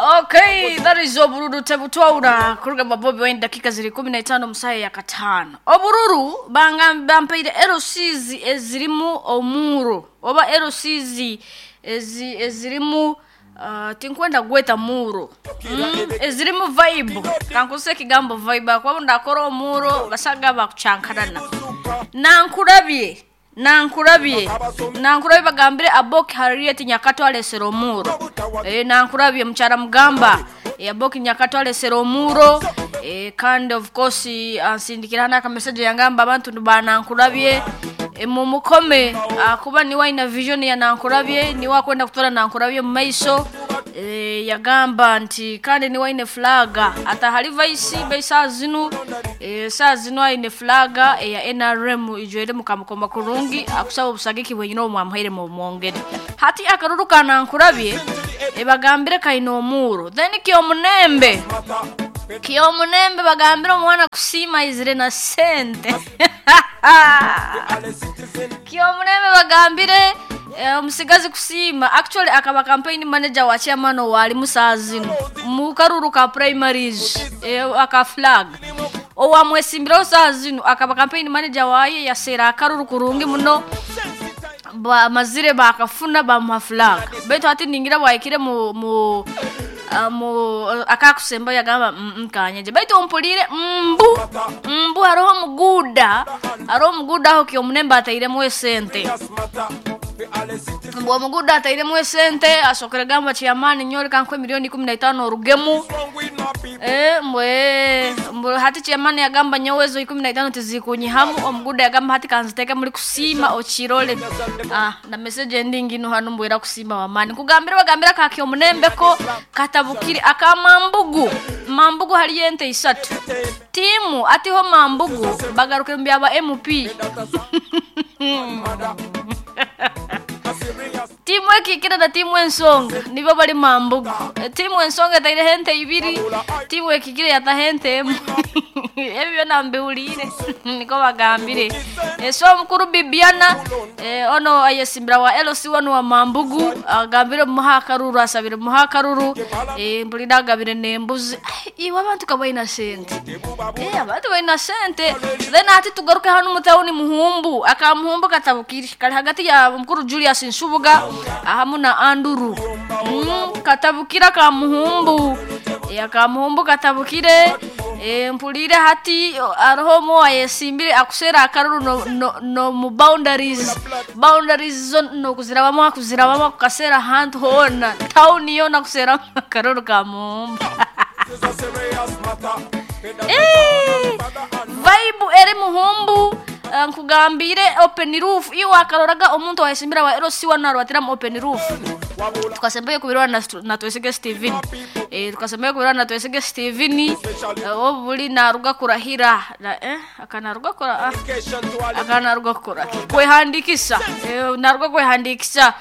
Okay, that is obururu tebutwaura kuruga bwa Bobi Wine dakika ziri 15 musaya ya katano. Obururu bampaire LCs ezirimu omuro oba LCs ezi ezirimu tinkwenda gweta muro ezirimu vibe kankuse ekigambo vibe akuba ndakora omuro basaga bakuchankarana. Nankurabye nankurabye nankurabye bagambire Aboki Harriet Nyakato alesera omuro. Nankurabye mukyara mugamba Aboki Nyakato alesera omuro. Kandi of course ansindikira n'aka message yangamba abantu banankurabye mumukome kuba niwe aina vision ya nankurabye niwe akwenda kutora nankurabye mu maiso. Yagamba nti kandi niwe aine flaga atahali vice be saa zinu saa zinu aine flaga ya NRM ijwere mukamukoma kurungi akusaba obusagiki bwenyine omwamuhaire mu mwongere hati akaruru kanankurabye bagambire kaina omuro then kyomunembe kyomunembe bagambire omwana kusiima izire na sente kyomunembe bagambire omusigazi kusiima actually akaba campaign manager wa chairman wali musaa zinu mukaruru ka primaries aka flag owamwesimbiraho saa zinu akaba campaign manager waye yasera akaruru kurungi muno bamazire bakafuna bamuha flag baitu hati ningira bwahikire mu mu mu akakusemba yagamba nkanyeje baitu ompulire mbu mbu hariho omuguda hariho omuguda aho kyomunembe atairemu esente mbu omuguda atairemu esente asokere gamba chairman nyore kankwe milioni 15 orugemu mbwe mbu hati chairman yagamba nyowezo 15 tizikunyihamu omuguda yagamba hati kanziteke muri kusiima okirole na message endingi no hano mbwera kusiima wamani kugambira bagambira ka kyomunembe ko katabukiri akamambugu mambugu hali ente isatu timu atiho mambugu bagaruke mbyaba MP timu ekikira na timu ensonga nibo bali mambugu. Timu ensonga etaire hente ibiri timu ekikira yata hente emu ebyo nambiwulire niko bagambire. So omukuru Bibiana ono ayesimbira wa LC1 wa mambugu agambire muha akaruru asabire muha akaruru mpulira agabire nembuzi. Iwe abantu kabaina sente abantu baina sente then ati tugaruke hano mutawuni muhumbu akamuhumbu katabukiri kali hagati ya mukuru Julius Nsubuga ahamu na Anduru katabukira ka muhumbu akamuhumbu katabukire mpulire hati aroho mo ayesimbire akusera akaruru no, no, no mu boundaries boundaries zo no kuzirabamo akuzirabamo kukasera hantu hona town yona kusera akaruru ka muhumbu vibe eri muhumbu nkugambire open roof iwe akaroraga omuntu wayesimbira wa LC1 narwatira mu open roof tukasembayo kubirwa na twesige Steven tukasembayo kubirwa na twesige Steven obuli naruga kurahira na akanaruga kura akanaruga kura kwehandikisa naruga kwehandikisa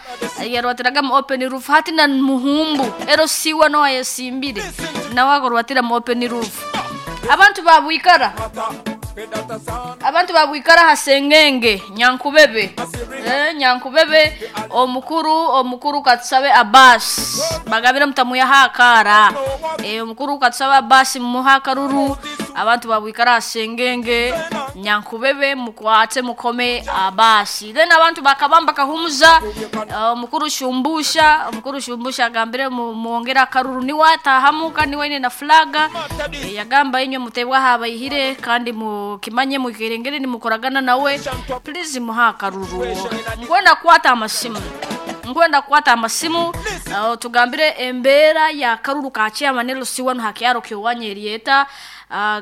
yarwatiraga mu open roof hati na muhumbu LC1 wayesimbire nawe akorwatira mu open roof abantu babwikara abantu babwikara hasengenge nyankubebe nyankubebe omukuru omukuru katusabe Abbas bagabira mutamuya hakara omukuru katusabe Abbas muha karuru abantu babwikara hasengenge nyankubebe mukwate mukome Abbas then abantu bakabamba kahumuza omukuru shumbusha omukuru shumbusha agambire muongera karuru niwe atahamuka niwe ine na flaga yagamba inywe mutebwa habayihire kandi mu kimanye mukirengere nimukoragana nawe please muha karuru ngwenda kwata amasimu ngwenda kwata amasimu tugambire embera ya karuru ka chairman LC1 hakyaro kyowanyerieta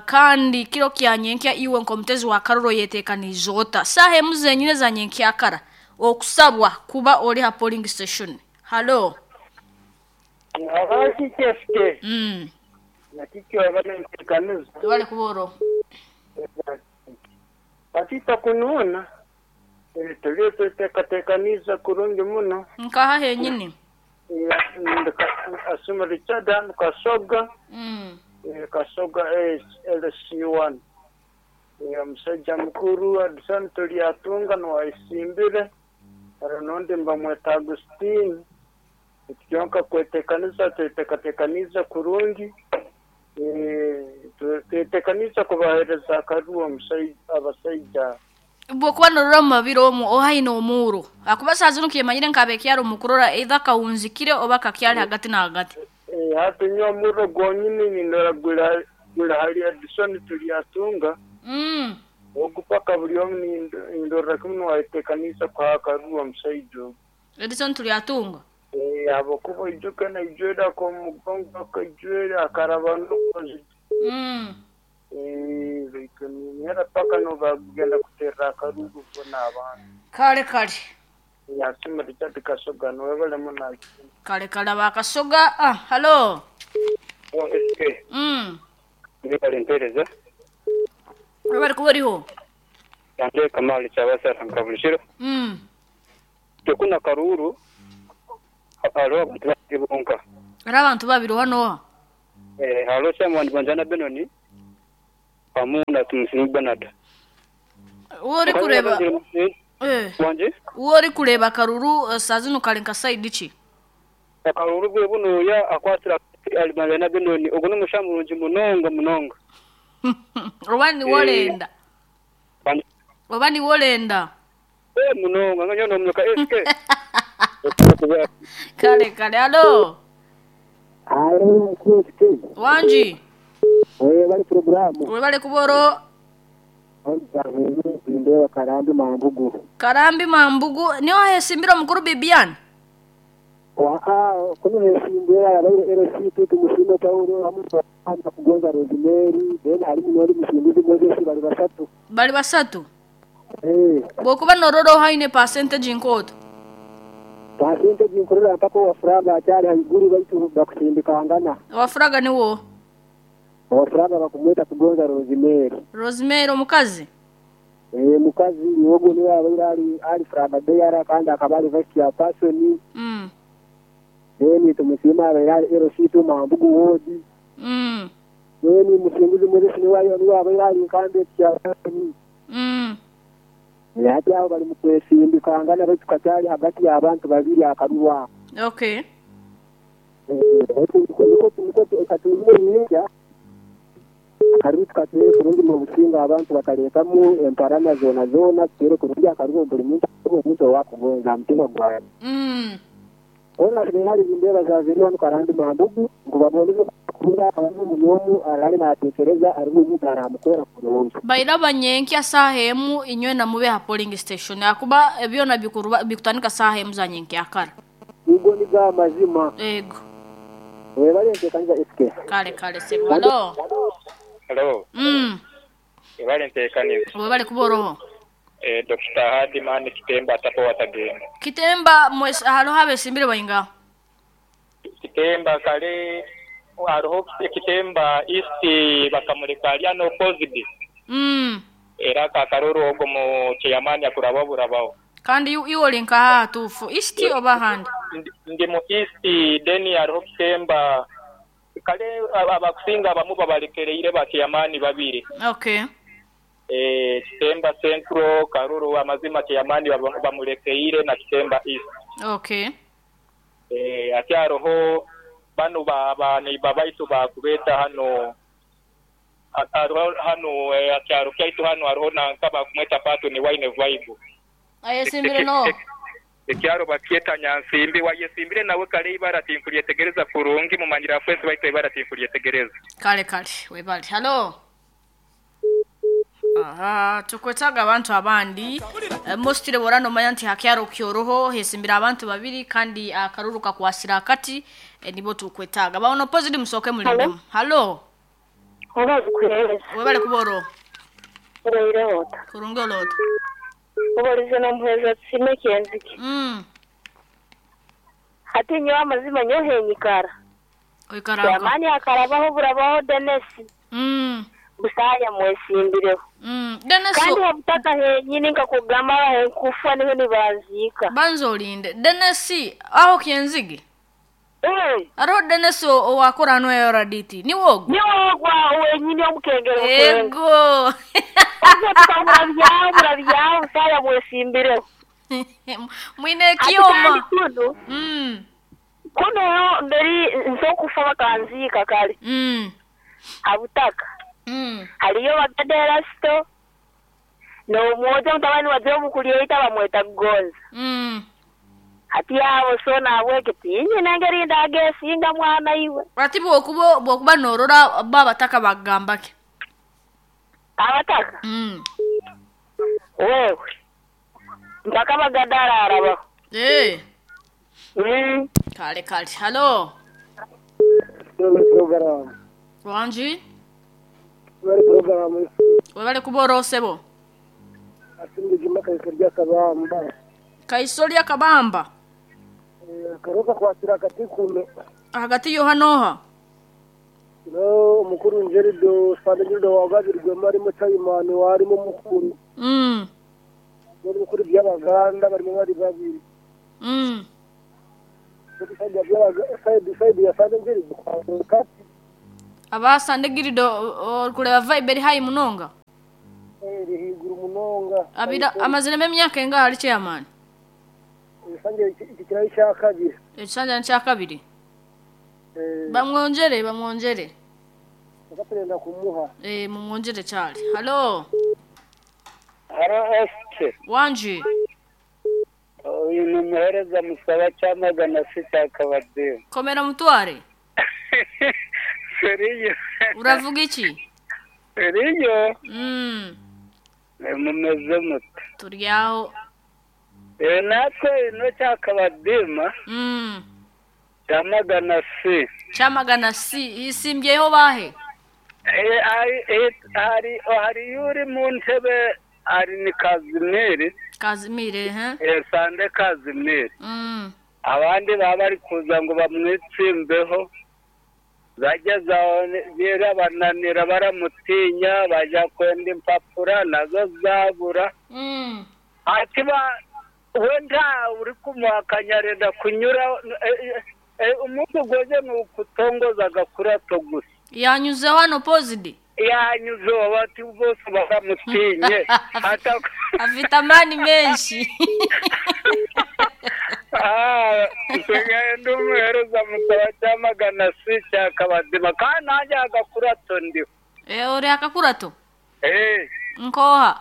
kandi kiro kyanyenkya iwe nkomutezi wa karuru yetekanizota sahe muzenyine za nyenkya kara okusabwa kuba oli ha polling station. Hello abaki kefte nakikyo abantekaniza wale kuboro batita kununa tuliteekateekaniza kurungi muno nkaha henyini asuma Richard Kasoga Kasoga LC1 omusajja mukuru Adison Tulyatunga niwayisimbire hari n'ondi mbamweta Agustine. Kyonka kwetekaniza tweteekateekaniize kurungi, twetekaniize kubaheereza akaruru abasaija. Bwokuba norora omu mabiro omu oha aine omuuro ahakuba saaha zinu kyemanyire nk'abekyaro omu kurora either kawunzikire oba kakyari hagati na hagati. Hati nyowe omurro gwonyini nindora guri hali Edison Turyatunga, ogu paka buri omu nindorra kimu nuwe ayetekaniize kuha akaruru omusaija ogu. Edison Turyatunga? Ahabw'okuba oijuke naijwire ak'omu mugongo akaijwire akaraba n'oku. Baitu niinihira paka n'obu baakugenda kuteerera akaruuru boona abantu. Kale kale. Yasiima Richard Kasoga niwe barimu naasiima. Kale kale aba Kasoga. Ah, halo. SK. Mwebale empeereza. Webale kuba oriho. Nande Kamali Kyabasara nka buri kiro. Itwe kunu akaruuru hariho abantu babiri bonka. Hariho abantu babiri oha n'oha? Hariho Chairman Banjana Benon hamu na Tumusiime Bernard. Ou orikureeba Wangi? Ou orikureeba akaruru saaha zinu kari nka sayidi ki? Akaruru bwe bunuya akwatire ahari Banjana Benon ogwo n'omushaija murungi munonga munonga. Oba niwe orenda? Oba niwe orenda? Munonga nyowe nomunuka SK. Kale kale halo. Halo SK. Wangi. Webale puroguramu. Webale kuba oro. Nindeeba Karambi Mambugu. Karambi Mambugu niho ahesimbire omukuru Bibian? Waa kunu hesimbire abaire LC2 Tumusiime Paulo hamwe na Kugonza Rosemary then harimu n'ondi Musinguzi Moses bari bashatu. Bari bashatu? Bwokuba norora oha aine percentage nk'otu? Percentage nkurora mpaka owa Furaga akyari haiguru baitu bakusindikangana. Owa Furaga niwe oha? Owa Furaga bakumweta Kugonza Rosemary. Rosemary omukazi? Mukazi niwe ogwo niwe abaire ari ari Furaga Bearer kandi akaba ari Vice Chairperson. Then Tumusiime abaire ari LC2 Mambugu Ward. Then Musinguzi Moses niwe niwe abaire ari Incumbent Chairperson. Hati aho bari mukwesindikangana baitu kakyari hagati y'abantu babiri akaruru ako. Okay. Nikwo katuine nyenkya akaruru tukateere kurungi omu businge abantu bataretamu emparana zoona zoona tuteere kurungi akaruru buri muntu abe omuntu owakugonza aha mutima gwawe. Hoona hariho nindeeba za ziri hanu Karambi Mambugu ngu baboneze kuhurira akaba buri omu araare naateekyereza hariho omuntu araamukoora kurungi. Bairaba nyenkya saaha emu inywena mube aha polling station ahakuba byona bikutandika saaha emu za nyenkyakara. Nigo nigo amazima. Ego. Webale enteekaniza SK. Kale kale sebo. Halo. Halo. Webale enteekaniza. Webale kuba oroho. Dokita Hardman Kitemba Tapo Watagenda. Kitemba mwes hariho abesimbire baingaha? Kitemba kare hariho Kitemba East bakamureka ari unopposed. Era aka akaruru ogwo mu chairman akurabaho burabaho. Kandi iwe ori nkaha ahatuufu? East oba ahandi? Ndi mu East then hariho Kitemba kare abakusinga abamwe babarekereire ba chairman babiri. Okay. Kitemba Central, Karuru amazima chairman bamurekeire na Kitemba East. Okay. Ati hariho banu ba neighbor baitu bakubeeta hanu hariho hanu akyaro kyaitu hanu hariho nanka bakumweta Patton Wine Vibe. Ayesimbire n'oha? Ekyaro bakyeta Nyansimbi wayesimbire nawe kare eibara tinkuryetegereza kurungi mumanyire afwensi baitu eibara tinkuryetegereza. Kale kale webale. Halo. Aha, tukwetaaga abantu abandi. Mostly bw'oraba nomanya nti ha kyaro kyoroho hesimbire abantu babiri kandi akaruru kakwasire akati nibo tukwetaaga. Ba unopposed musooke mulindemu. Halo. Oba zikuheereza. Webale kuba oroho. Obaire ota? Kurungi ori ota? Obarize n'omuheereza Tusiime Kyenzige. Hati nyowe amazima nyowe henyikara. Oikara nka? Chairman akarabaho burabaho Denis. Busaaya mwesimbireho. Denis Kandi ha butaka henyini nkakugamba ahenkufa niho nibanziika. Banza olinde. Denis aho Kyenzige? Hariho Denis owakora hanu RDT. Niwe ogwo? Niwe ogwo aho wenyini omukengere bukenga. Ego. Oze tukamurabyaho burabyaho Busaaya mwesimbireho. Mwine Hati ekyoma. kandi kunu. Kuno mberi nsokufa bakanziika kale habutaka. Haliyo Bagada Erasito n'omwojo mutabani wa Jobu Kulyeita bamweta Kugonza. Hati abo so nahabweki tinyine ngeri ndaagesinga mwana iwe. Ati bwokuba bwokuba norora bo abataka bakugamba ki? Abataka? Wewe mpaka Bagada araarabaho. Eh. Kale kale. Halo. Program. Wangi? Bari program. Webale kuba orosebo. Asinge juma kaisorya kabamba. Kaisorya kabamba. Karoka kwatira akati kume. Hagati yoha noha? No omukuru Njerido Sande Njerido wagabirwemu arimo Chaimani warimo mukuru. Mukuru by'Abaganda barimo bari babiri. Side ya Sande Njerido kati. Aba Sande Girido kureba vibe eri high munonga. Eri higuru munonga. Abira amaziremo emyaka engaha ari chairman? Ekisanja iki kirayi kya kabiri. Ekisanja kya kabiri. Bamwonjere bamwonjere. Bakatenda kumuha. Mumwonjere cyane. Halo. Haro SK. Wanji. Uyu ni umuhereza musaba cyamagana sita akabadeo. Komera mutware. Seriyo. Uravuga iki? Seriyo. Mumeze mute? Turyaho. Natwe ino cyakabadima. Cyamagana si. Cyamagana si isimbyeho bahe? Hari hari yuri mu ntebe ari ni Kazimiri. Kazimiri he? Sande Kazimiri. Abandi baba bari kuza ngo bamwitsimbeho. Bageze aho birabananira baramutinya bajya kwenda impapuro nazo zabura. Ati wenda uri kumuhakanya arenda kunyura umunsi ugoze ni ukutongoza agakurato gusa. Yanyuzeho hano pozidi? Yanyuzeho bati bose baramutinye. Afite amani menshi. Nsigaye ndi umuhereza musaba cyamagana si cyakabazima kandi nanjye agakurato ndiho. Uri akakurato? Nkoha?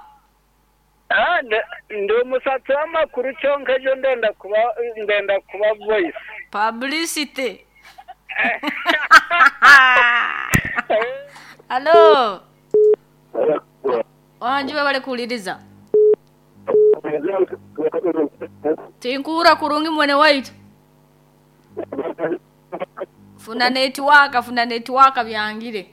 Ndi umusatsi w'amakuru cyonka ejo ndenda kuba voice. Publicity. Halo. Wanji bale kuliriza. Tinkura kurungi mwene waitu. Funa network byangire.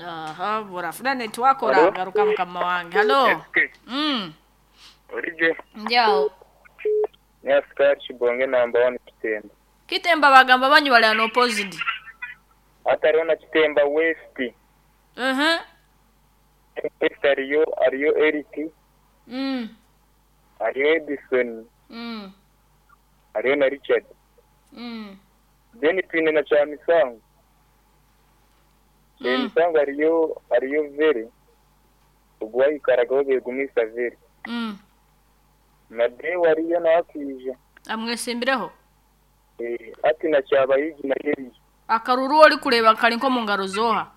Aha, bora funa network oragaruka mukama wange. Halo. Orije. Njao. Ni askari Chibonge namba 1 Kitemba. Kitemba bagamba banyu bali ano opposite. Atariho na Kitemba West. West ariyo Eric. Ariyo Edison. Ariyo na Richard. Then twine na Chamisango. Chamisango ariyo Vere. Ubwo yikaragaho begumisa Vere. Na Dewa ariyo nakije. Amwesimbireho? Ati na Cyabayigi na Heriye. Akaruru ori kureba kari nko mu ngaro zoha.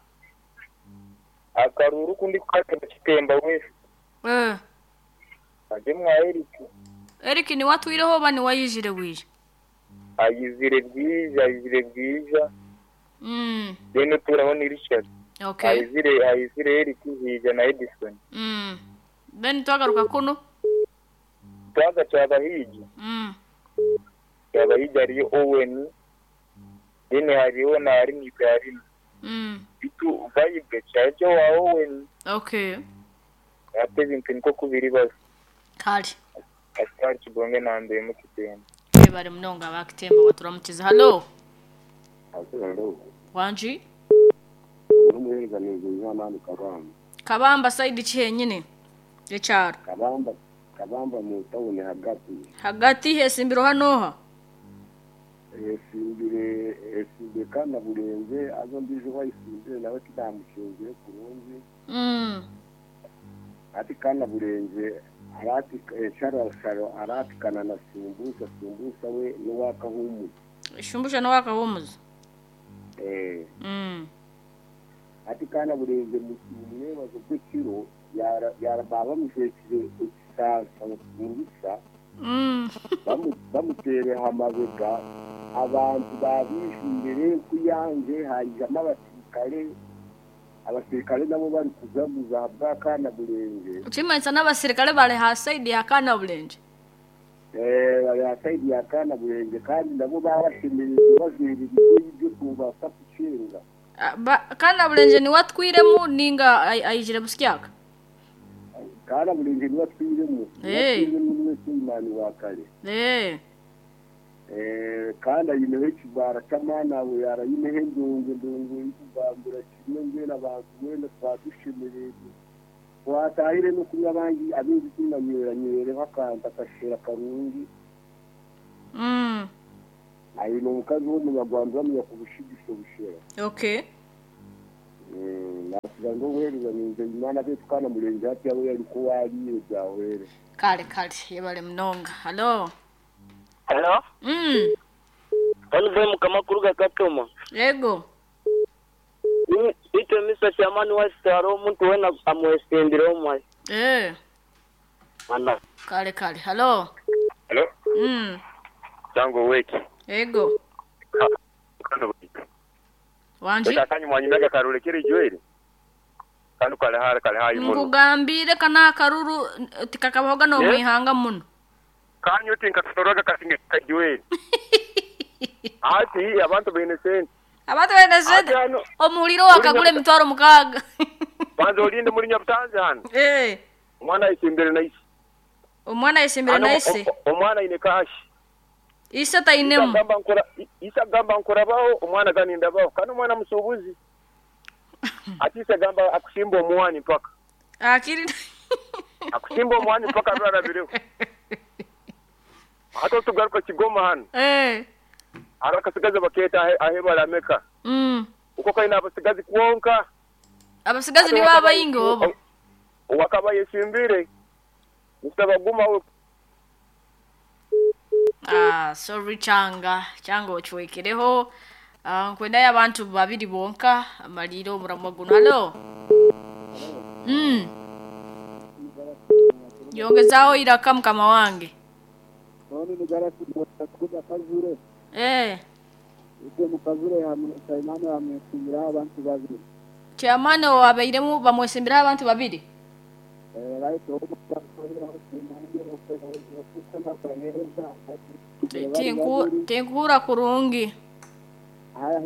Akaruru kundi kaka Kitemba West. Aje mwa Eric. Eric ni watwireho bani wayijire bwije. Ayizire bwije. Then turaho ni Richard. Okay. Ayizire Eric hija na Edison. Then twagaruka kuno. Twaga Cyabayigi. Cyabayigi ariyo Owen. Then hariho na Arini Garini. Bitu vibe cyaje wa Owen. Okay. Ate bintu niko kubiri bazo. Kali. Askari Chibonge nambe mu Kitemba. Bari munonga bakitemba baturamukiza. Halo. Halo. Wanji? Umuhereza neza Kabamba. Kabamba side kihenyine. Ecyaro. Kabamba mu town hagati. Hagati hesimbiro hanoha. Esimbire kana burenze azo ndije wayisimbire nawe kidamukinzire kurungi. Ati kana burenze arati sharasharo aratikana na sumbusa sumbusa we n'uwakahumuza. Shumbusha n'uwakahumuza. Ati kana burenze mwebazo gw'ekiro yara bamushekire ekisasa sumbusa. Bamutere hamabega abantu babishindire kuyanje hajama abasirikare nabo bari kuzaguza bwa kana burenze. Uchimanisa n'abasirikare bari ha side ya kana burenze. Bari ha side ya kana burenze kandi nabo babashemereye baziririye ibyo kubasa kucenga. Kana burenze ni watwiremu ninga ayijire busyaka. Kana burenze ni watwiremu. Watwiremu niwe kimani wa kare. Kandi ayineho ekibara ky'amaani abo yarayineho endongo endongo ikugambira kimwe mbwenu abantu mwena twadushemereire twatahire n'okunywa abangi abingi tunanyweranywereho akantu akashera karungi. Ayine omukazi w'omunyarwanda bamunya kubushigisha obushera. Okay. Nasiga ngo obuheereza ninze imana betu kana murenze hati yabo yariko wariire byahwere. Kale kale yebale munonga. Hello. Hello? Olive mukamakuru gakatoma. Yego. Ito misa chamani wa saro omuntu wena amwesendire omwe. Ana. Kale kale. Hello. Hello. Tango weki. Yego. Wanji. Ndakanyi mwanyinaga karule kiri jweri. Kanu kale hara kale hayi muno. Nkugambire kana karuru tikakabahoga no mwihanga muno. Kanyo tinkatoroga kasinge kajweri. Ati abantu bene sente. Abantu bene sente. Omuliro wakagule mitwaro mukaga. Banzo olinde muri Nyabutanzi hano. Omwana isimbere na isi. Omwana isimbere na isi. Omwana ine kashi. Isa tainemu. Isa gamba nkorabaho omwana ganindabaho. Kano omwana musubuzi. Ati isa gamba akusimba omwani mpaka. Akiri. Akusimba omwani mpaka rwarabireho. Hato tugaruka Kigoma hano. Arakasigaza baketa ahebara ameka. Uko kaina abasigazi kuonka. Abasigazi ni baba ingo obo. Wakabaye simbire. Musabaguma we. Sorry changa ochwekereho. Nkwenda abantu babiri bonka amaliro omuramwa guno. Hello. Yongezaho iraka mukama wange. None nigarasi kuja kazure. Ite mukazure hamwe hamwesimbira abantu babiri. Chairman wabeiremu bamwesimbira abantu babiri. Right. Tinkura kurungi.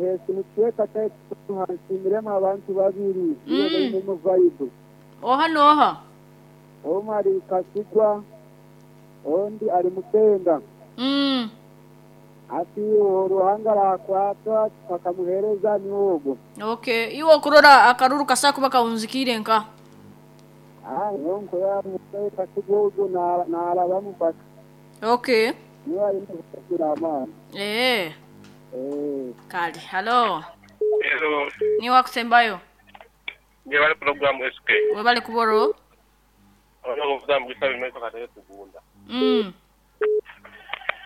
Hesi muchweka taitu hansimbiremu abantu babiri. Iyo mu vibe. Oha noha. Omari kasigwa. Ondi ari mutenga. Ati uruhanga rakwata bakamuhereza niwogo. Okay, iwo kurora akaruru kasakuba kaunzikire nka. Yonko ya mutenga kasigwa na narabamu paka. Okay. Niwa ari mutenga. Kali, hello. Hello. Niwa kusembayo. Ni wale program SK. Webale kuboro. Ono mvuza bimeza kateye tugunda.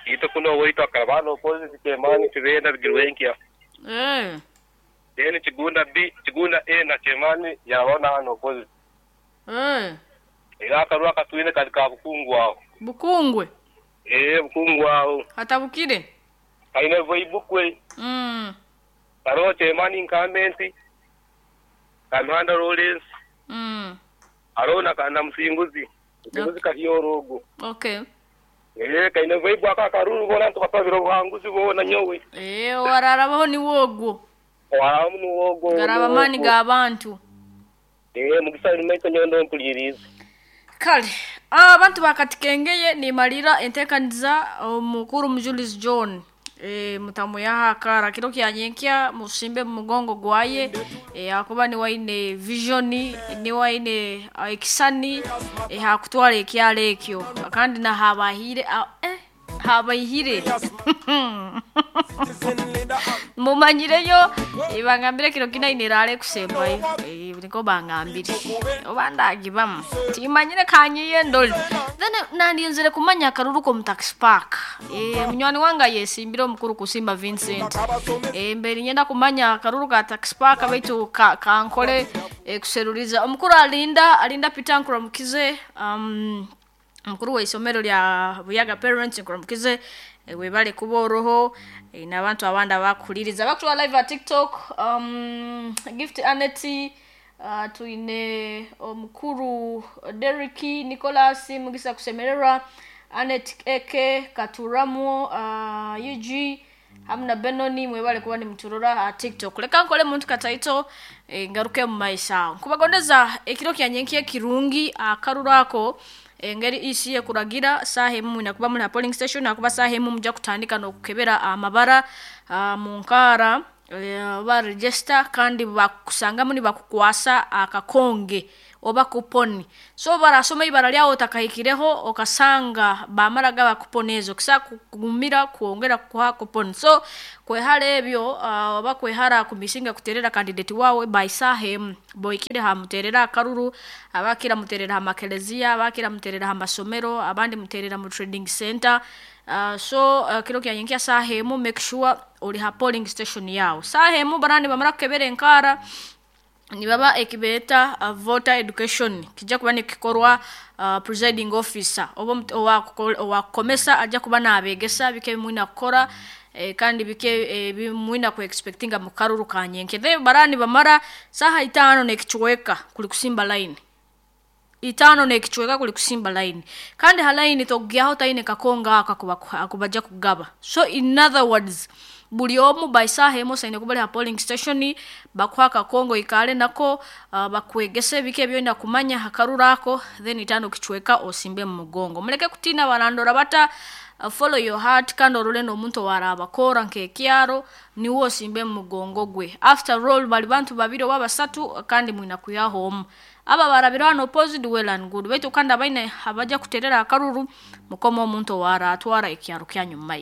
Ito kuno wito akarabano kozi chemani chibenda bigirwenkia. Then chigunda B, chigunda A na chemani yabona hano kozi. Ila akarwa katuine katika bukungu aho. Bukungwe. Bukungu aho. Hatabukire. Aine voibukwe. Karo chemani incumbent. Kamanda Lawrence. Arona kana msinguzi. Msinguzi kahiyorogo. Okay. Kaine voibwa akakaruru bona tukasabira buhanguzi bona nyowe. Wararabaho ni wogo. Waramu ni wogo. Garaba mani ga abantu. Mugisa nimecho nyondo mpuliriza. Kale, abantu bakatikengeye ni malira entekaniza omukuru Julius John. Mutamu yahakara kiro kyanyenkya musimbe mugongo gwaye akuba ni waine vision ni waine ekisani hakutwala ekyalo ekyo kandi na habahire habayihire mumanyireyo ibangambire kiro kinainirale kusembayo. Niko bangambire oba ndagibamu timanyire kanyiye ndoli then nandinzire kumanya akaruru ko mu taxi park. Munywani wange yesimbire omukuru kusimba Vincent. Mbere nyenda kumanya akaruru ka taxi park baitu kankole kuseruriza omukuru alinda Peter Nkuramukize, omukuru w'isomero lya Buyaga Parents Nkuramukize, webale kuba oroho, n'abantu abandi abakuhuliriza bakutwara live at TikTok. Gift Aneti, twine omukuru Derrick Nicholas Mugisa kusemererwa, Anet Eke Katuramu, UG hamwe na Benoni, mwebale kuba nimuturora ha TikTok. Leka nkole muntu kataito, ngaruke mu maisha nkubagondeza ekiro kyanyenki ekirungi. Akaruru ako engeri isi ekuragira, saha emu nakuba muri polling station, nakuba saha emu muja kutandika n'okukebera amabara mu nkara, ba register kandi bakusangamu nibakukwasa akakonge oba kuponi. So barasoma ibara lyawe otakahikireho, okasanga bamaraga bakuponi ezo kisa kugumira kwongera kuha kuponi. So kwehara ebyo, oba kwehara kumisinga kuterera candidate wawe by saha emu boikire hamuterera akaruru. Abakira muterera hamakelezia, abakira muterera hamasomero, abandi muterera mu trading center. So kiro kyanyenkia saha emu make sure ori ha polling station yawe saha emu. Barani bamara kukebera enkara nibaba ekibeta voter education kijja kuba nikikorwa presiding officer oba owakukomesa ajja kuba nabegesa bike bimwina kukora, kandi bike bimwina ku expectinga mu karuru kanyenke. Then barani bamara saha 5:15 kuli kusimba line, 5:15 kuli kusimba line, kandi ha line togyaho taine kakonga aka akubaja kugaba. So in other words, buli omu by saha emu osaine kuba ha polling station, bakuha akakongo ikale nako, bakwegese bike ebyoina kumanya hakaruru ako, then 5:15 osimbe mu mugongo. Muleke kutina barandora bata, follow your heart kandi orole n'omuntu owarabakora nk'ekyaro niwe osimbe mu mugongo gwe. After all bali bantu babiri oba basatu kandi mwina kuyaho omu. Aba barabira hano opposite, well and good, baitu kandi abaine abaja kuterera akaruru mukoma omuntu owaratwara ekyaro kyanyu mu maiso.